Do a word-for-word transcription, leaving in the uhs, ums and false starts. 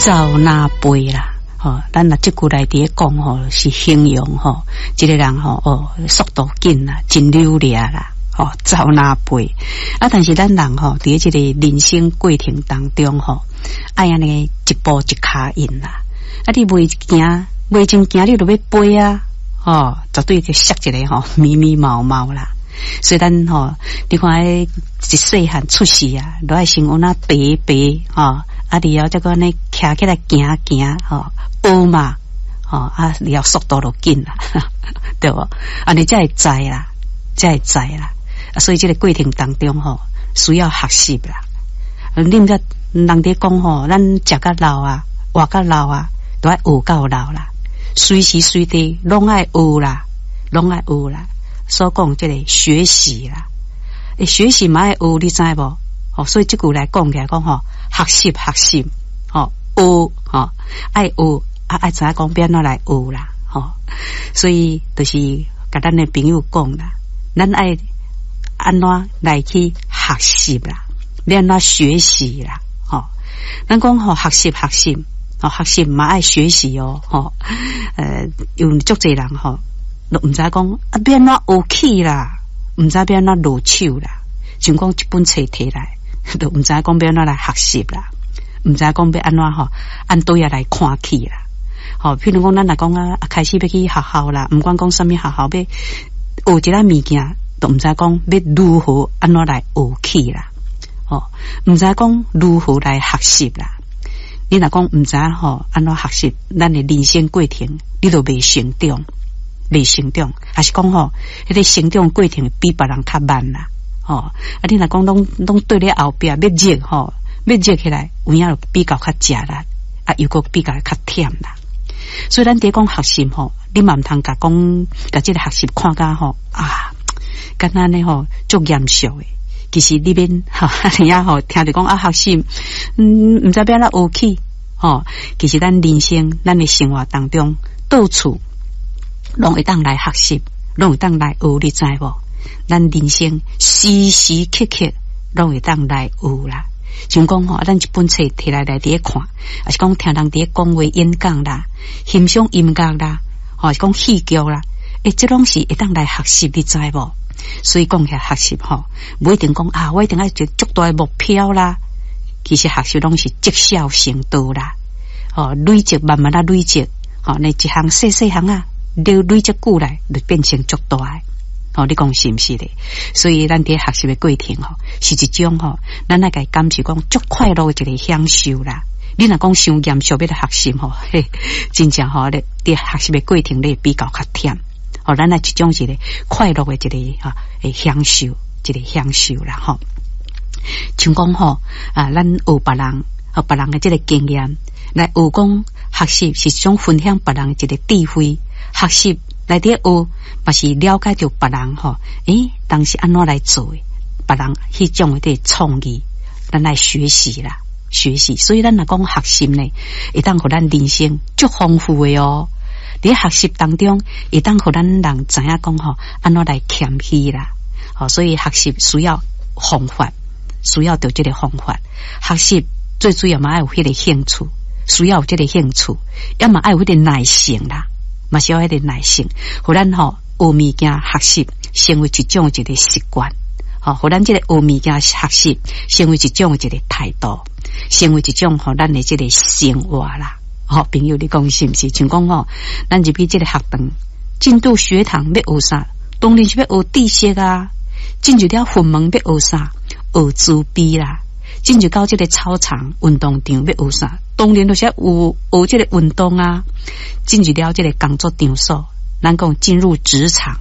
走若飛啦。吼，咱若這句來佇咧講吼，是形容吼，這个人吼哦，速度緊啦，真溜掠啦，吼，走若飛。啊，但是咱人吼，佇這个人生過程當中吼，愛按呢一步一跤印啦。啊，你袂行，袂真行，你就欲飛啊！吼，絕對就摔一个吼，密密毛毛啦。所以咱吼，你看彼一細漢出世啊，都愛先按怎爬爬吼，啊，然後再閣按呢徛起來行行吼，學嘛，吼啊，然後速度就緊啦，對無？按呢才會知啦，才會知啦。啊，所以這个過程當中吼，需要學習啦。你毋知人佇講吼，咱食甲老啊，活甲老啊，都愛學到老啦，隨時隨地攏愛學啦，攏愛學啦。所講這个學習啦，欸，學習嘛愛學，你知無？吼，所以這句來講起來講吼，學習學習，吼學吼愛學啊，愛知影講欲按怎來學啦，吼。所以就是共咱的朋友講啦，咱愛按怎來去學習啦，欲按怎學習啦，吼。咱講吼學習學習，吼學習嘛愛學習哦，吼。呃，有足濟人吼，都毋知講啊，欲按怎學起啦，毋知欲按怎落手啦。像講一本冊提來，都毋知講欲按怎來學習啦，毋知講欲按怎吼，按佗位來看起啦。吼，譬如講，咱若講啊，開始欲去學校啦，毋管講啥物學校，欲學一个物件，都毋知講欲如何按怎來學起啦。吼，毋知講如何來學習啦。你若講毋知吼按怎學習，咱的人生過程，你都袂成長。袂成長，還是講吼，彼个成長過程比別人較慢啦，吼。啊，你若講攏攏對咧後壁欲熱吼，欲熱起來，有影就比較較食力，啊，又閣比較較忝啦。所以咱佇講學習吼，你嘛毋通共講，共這个學習看甲吼啊，敢若按呢吼足嚴肅的。其實你免吼，你啊吼聽著講啊學習，嗯，毋知欲按怎學起吼。其實咱人生，咱的生活當中，到處攏會當來學習，攏會當來學，你知無？咱人生時時刻刻攏會當來學啦。像講吼，咱一本冊提來來佇咧看，抑是講聽人佇咧講話演講啦，欣賞音樂啦，吼是講戲劇啦，欸，這攏是會當來學習，你知無？所以講起來學習吼，無一定講啊，我一定愛一個足大的目標啦。其實學習攏是積少成多啦，吼累積慢慢仔累積，吼那一項細細項仔，累累積久來就變成足大的。吼，你講是毋是咧？所以咱佇學習的過程吼，是一種吼，咱愛共感受講足快樂的一個享受啦。你若講傷嚴肅欲來學習吼，嘿，真正吼咧，佇學習的過程咧比較較忝。吼，咱來一種一個快樂的一個哈，會享受，一個享受啦吼。像講吼啊，咱學別人，學別人的這个經驗來學講學習是一種分享別人的一個智慧，學習來佇學嘛是了解著別人吼，欸，當時按怎來做的，別人彼種的創意，咱來學習啦，學習。所以咱若講學習呢，會當予咱人生足豐富的哦。佇學習當中，會當予咱人知影講吼，按怎來謙虛啦。吼，所以學習需要方法，需要著這个方法。學習最主要嘛愛有彼個興趣，需要有這个興趣，也嘛愛有彼個耐性啦，嘛是要彼個耐性，予咱吼學物件學習成為一種一個習慣，吼，予咱這个學物件學習成為一種一個態度，成為一種予咱的這个生活啦。吼，朋友，你講是毋是？像講吼，咱入去這個學堂，進入學堂欲學啥？當然是欲學知識啊。進入了佛門欲學啥？學慈悲啦。進入到這個操場運動場欲學啥？當然就是有學這個運動啊。進入了這個工作場所，咱講進入職場。